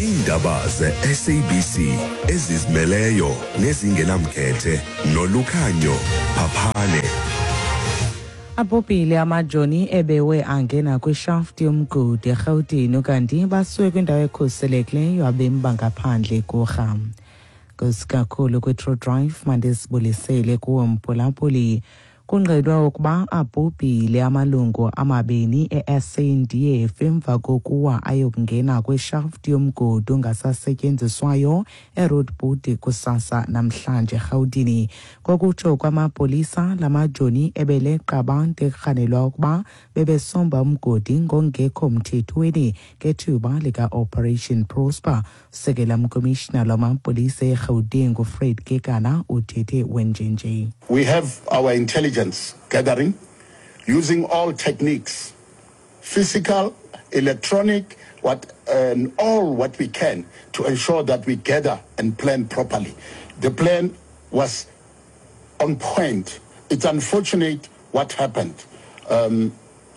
Iindaba ze-SABC ezizimeleyo nezingenamkhethe nolukhanyo Phaphane. Abhubhile amajoni ebewe angena kwishafti yomgodi eRhawutini ukanti basuke kwindawo ekhuselekileyo abemi bangaphandle kurha. Nkosi kwi-True Drive mandisibulisele kuwo mphulaphuli. Kungqinwe ukuba abhubhile amalungu amabini e-SANDF emva kokuwa ayokungena kwishafti yomgodi ongasasetyenziswayo eRoodport kusasa namhlanje eRhawutini. Ngokutsho kwamapolisa, la majoni ebeleqa abantu ekurhanelwa ukuba bebesomba umgodi ngongekho mthethweni ngethuba lika-Operation Prosper. Usekela mkomishinala wamapolisa eRhawutini nguFred Kekana uthethe wenjenje. We have our intelligence gathering using all techniques, physical, electronic, what, and all what we can to ensure that we gather and plan properly. The plan was on point. It's unfortunate what happened.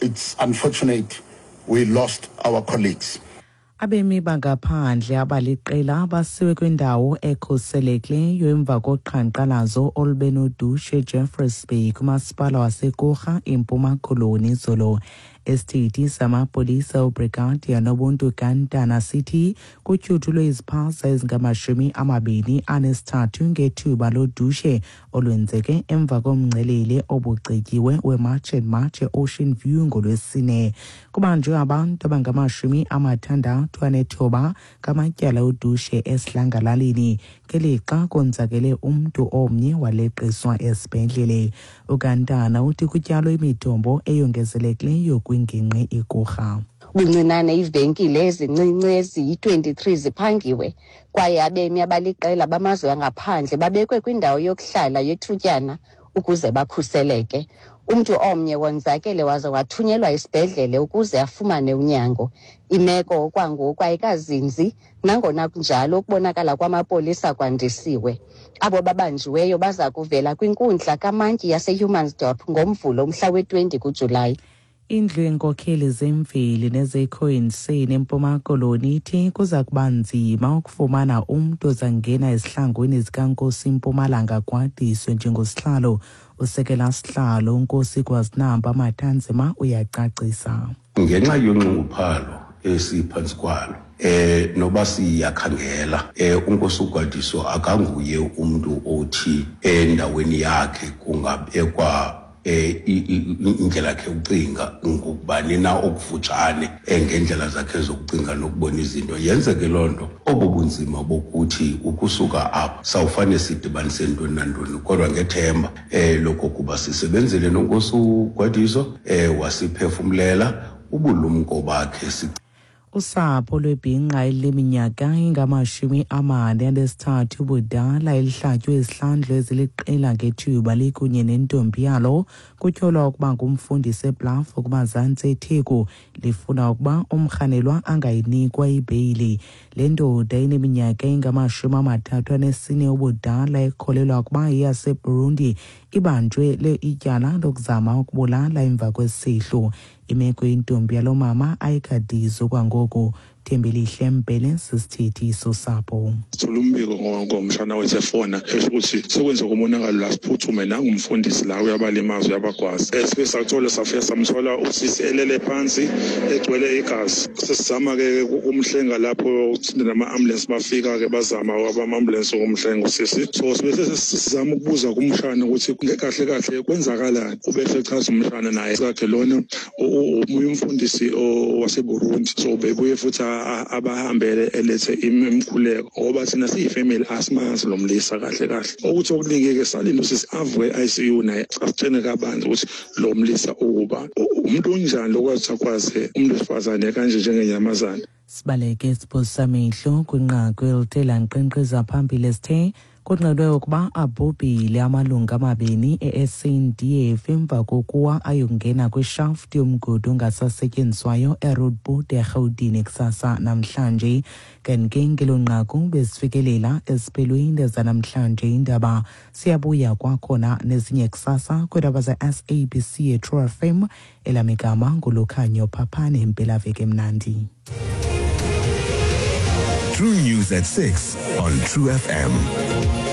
It's unfortunate we lost our colleagues. Abemi bangaphandle abaliqela basiwe kwindawo ekhuselekileyo emva koqhankqalazo olube nodushe eJeffreys Bay kumasipala waseKurha eMpuma Koloni izolo. Isithethi samapolisa uBrigadier Nobuntu Gantana sithi kutyhuthulwe iziphaza ezingama-23 ngethuba lodushe olwenzeke emva komngcelele obucetyiwe weMarch and March e-Ocean View ngoLwesine. Kubanjwe abantu abangama-69 ngamatyala odushe esidlangalaleni ngelixa konzakele umntu omnye waleqiswa esibhedlele. UGantana uthi kutyalwe imithombo eyongezelekileyo kwingingqi iKurha. Ubuncinane iivenkile ezincinci eziyi-23 ziphangiwe kwaye abemi abaliqela bamazwe angaphandle babekwe kwindawo yokuhlala yethutyana ukuze bakhuseleke. Umntu omnye wonzakele waze wathunyelwa esibhedlele ukuze afumane unyango. Imeko okwangoku ayikazinzi, nangona kunjalo ukubonakala kwamapolisa kwandisiwe. Abo babanjiweyo baza kuvela kwinkundla kamantyi yaseHumansdorp ngoMvulo umhla we-20 kuJulayi. Indlu yeenkokheli zemveli nezeCoinsin eMpuma Koloni ithi kuza kuba nzima ukufumana umntu ozangena ezihlangwini zikaNkosi Mpumalanga Gwadiso njengosihlalo. Usekela sihlalo uNkosi Gwazinamba Matanzima uyacacisa. Ngenxa yonxunguphalo esiphantsi kwalo, noba siyakhangela, uNkosi uGwadiso akanguye umntu othi endaweni yakhe kungabekwa indlela yakhe yokucinga ngokubani na okufutshane, ngendlela zakhe zokucinga nokubona izinto. Yenzeke loo nto, obo bunzima bokuthi ukusuka apha sawufane sidibanise ntoni nantoni, kodwa ngethemba lokokuba sisebenzile noNkosi uGwadiso, wasiphefumlela ubulumko bakhe. Usapho lwebhinqa eliminyaka ingama-43 ubudala elihlatywe izihlandlo eziliqela ngethuba likunye nentombi yalo kutyholwa ukuba ngumfundisi eBluff kumazantsi eTheku lifuna ukuba umrhanelwa angayinikwa ibheyili. Le ndoda ineminyaka engama-34 ubudala ekholelwa ukuba iyaseBurundi ibanjwe le ityala lokuzama ukubulala emva kwesihlo. Imeko yentombi yalo mama ayikadizwa kwangoku. Thembelihle Mbhele sisithethi sosapho. Sithola umbiko ngomshana wethu efona esho ukuthi sekwenzeka umonakalo la, siphuthume, nangumfundisi la uyabalimaza, uyabagwaza. Sifike sathola, safika samthola usisi elele phansi egcwele igazi. Sesizama-ke ukumhlenga lapho nama-ambulance bafika-ke, bazama abama-ambulance ukumhlenga usisi. So sibe sesizama ukubuza kumshana ukuthi kahle kahle kwenzakalani. Ubese echaza umshana naye sakhe lona omunye umfundisi waseBurundi, so bebuye futhi abahambele elethe imikhuleko, ngoba thina siyifamily asimazi lo mlisa kahle kahle. Ukuthi okuningi-ke salinde usisi avuke e-ICU naye asitshene kabanzi ukuthi lo mlisa ukuba umuntu onjani lokwazi akwazi umuntu wesifazane kanje njengenyamazane. Sibaleke siphosamehlo kwinqaku elithe lankqenkqeza phambili esithe kungqinwe ukuba abhubhile amalungu amabini e-SANDF emva kokuwa ayokungena kwishafti yomgodi ongasasetyenziswayo eRoodport eRhawutini kusasa namhlanje. Kanti ke ngelo nqaku besifikelela esiphelweni zanamhlanje indaba. Siyabuya kwakhona nezinye kusasa kwiindaba ze-SABC eTrue FM. Elamigama nguLukhanyo Phaphane. Impelaveki emnandi. True News at 6 on True FM.